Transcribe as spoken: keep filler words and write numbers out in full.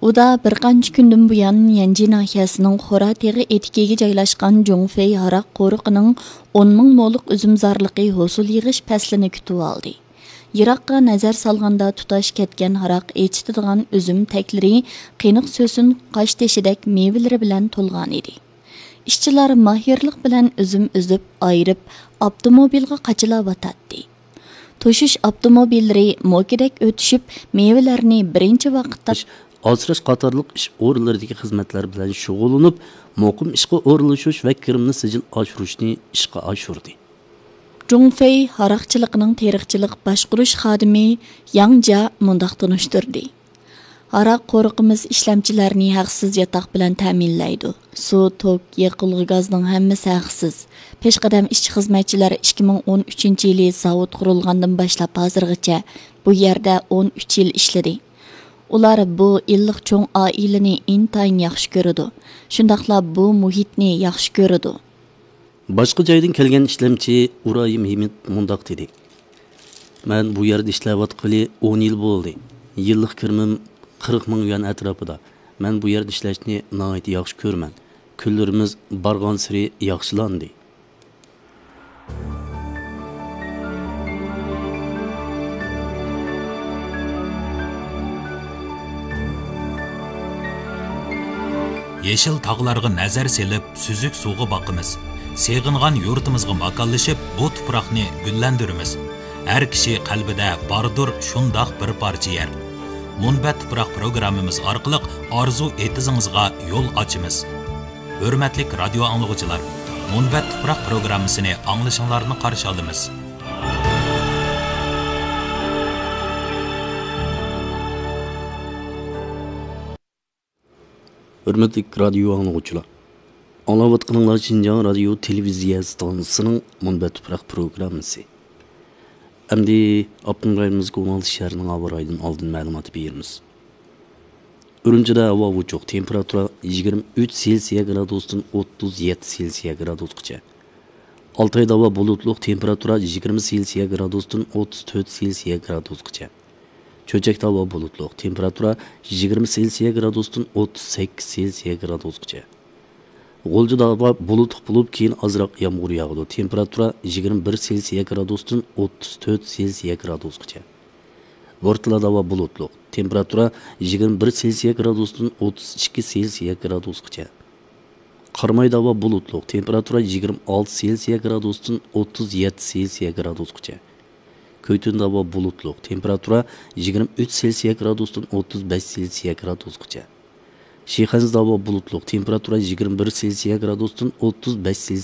ئۇدا بىر قانچە كۈندىن بۇيان يەنجى ناھىيەسىنىڭ خورا تېغى ئېتىكىگە جايلاشقان جۇڭفېي ھاراق قورۇقىنىڭ ئون مىڭ مولۇق ئۈزۈم زارلىقى ھوسۇل يىغىش پەسلىنى كۈتۈۋالدى. يىراققا نەزەر سالغاندا، تۇتاش كەتكەن ھاراق ئېچىتىدىغان ئۈزۈم تەكلىرى قېنىق سۆسۈن قاشتېشىدەك مېۋىلىرى بىلەن تولغانىدى. ئىشچىلار ماھىرلىق بىلەن ئۈزۈم ئۈزۈپ، ئايرىپ، ئاپتوموبىلغا قاچىلاۋاتاتتى. توشۇش ئاپتوموبىللىرى موكىدەك ئۆتۈشۈپ، مېۋىلەرنى بىرىنچى ۋاقىتتا ئاسراش قاتارلىق ئىش ئورۇنلىرىدىكى خىزمەتلەر بىلەن شۇغۇللىنىپ، مۇقىم ئىشقا ئورۇنلىشىش ۋە كىرىمنى سىجىل ئاشۇرۇشنى ئىشقا ئاشۇردى. جۇڭفېي ھاراقچىلىقىنىڭ تېرىقچىلىق باشقۇرۇش خادىمى ياڭ جيا مۇنداق تونۇشتۇردى: ھاراق قورۇقىمىز ئىشلەمچىلەرنى ھەقسىز ياتاق بىلەن تەمىنلەيدۇ. سۇ، توك، يېقىلغۇ گازنىڭ ھەممىسى ھەقسىز. پېشقەدەم ئىشچى-خىزمەتچىلەر ئىككى مىڭ ئون ئۈچىنچى يىلى زاۋۇت قۇرۇلغاندىن باشلاپ ھازىرغىچە بۇ يەردە ئون ئۈچ يىل ئىشلىدى. ئۇلار بۇ ئىللىق چوڭ ئائىلىنى ئىنتايىن ياخشى كۆرىدۇ. شۇنداقلا بۇ مۇھىتنى ياخشى كۆرىدۇ. باشقا جايدىن كەلگەن ئىشلەمچى ئۇرايىم ھىمىت مۇنداق دېدى: مەن بۇ يەردە ئىشلەۋاتقىلى ئون يىل بولدى. يىللىق كىرىمىم قىرىق مىڭ يۈەن ئەتراپىدا. مەن بۇ يەردە ئىشلەشنى ناھايىتى ياخشى كۆرىمەن. كۈنلىرىمىز بارغانسېرى ياخشىلاندى. يېشىل تاغلارغا نەزەر سېلىپ، سۈزۈك سۇغا باقىمىز. سېغىنغان يۇرتىمىزغا ماكانلىشىپ، بۇ تۇپراقنى گۈللەندۈرىمىز. ھەر كىشى قەلبىدە باردۇر شۇنداق بىر پارچە يەر. مۇنبەت تۇپراق پروگراممىمىز ئارقىلىق ئارزۇ ئېتىزىڭىزغا يول ئاچىمىز. ھۆرمەتلىك رادىيو ئاڭلىغۇچىلار، مۇنبەت تۇپراق پروگراممىسىنى ئاڭلىشىڭلارنى قارشى ئالىمىز. ھۆرمەتلىك رادىيو ئاڭلىغۇچىلار، ئاڭلاۋاتقىنىڭلار شىنجاڭ رادىيو تېلېۋىزىيە ئىستانسىسىنىڭ مۇنبەت تۇپراق پروگراممىسى. ئەمدى ئاپتونوم رايونىمىزدىكى ئون ئالتە شەھەرنىڭ ھاۋا رايىدىن ئالدىن مەلۇمات بېرىمىز. ئۈرۈمچىدە ھاۋا ئوچۇق، تېمپېراتۇرا يىگىرمە ئۈچ سېلسىيە گرادۇستىن ئوتتۇز يەتتە سېلسىيە گرادۇسقىچە. ئالتايدا ھاۋا بۇلۇتلۇق، تېمپېراتۇرا يىگىرمە سېلسىيە گرادۇستىن ئوتتۇز تۆت سېلسىيە گرادۇسقىچە. چۆچەكتە ھاۋا بۇلۇتلۇق، تېمپېراتۇرا يىگىرمە سېلسىيە گرادۇستىن ئوتتۇز سەككىز سېلسىيە گرادۇسقىچە. غۇلجىدا ھاۋا بۇلۇتلۇق بولۇپ، كېيىن ئازراق يامغۇر ياغىدۇ. تېمپېراتۇرا يىگىرمە بىر سېلسىيە گرادۇستىن ئوتتۇز تۆت سېلسىيە گرادۇسقىچە. بورتالادا ھاۋا بۇلۇتلۇق، تېمپېراتۇرا يىگىرمە بىر سېلسىيە گرادۇستىن ئوتتۇز ئىككى سېلسىيە گرادۇسقىچە. قارامايدا ھاۋا بۇلۇتلۇق، تېمپېراتۇرا يىگىرمە ئالتە سېلسىيە گرادۇستىن ئوتتۇز يەتتە سېلسىيە گرادۇسقىچە. كۆيتۈندە ھاۋا بۇلۇتلۇق، تېمپېراتۇرا يىگىرمە ئۈچ سېلسىيە گرادۇستىن ئوتتۇز بەش سېلسىيە گرادۇسقىچە. شىخەنزىدە ھاۋا بۇلۇتلۇق، تېمپېراتۇرا يىگىرمە بىر سېلسىيە گرادۇستىن ئوتتۇز بەش سېلسىيە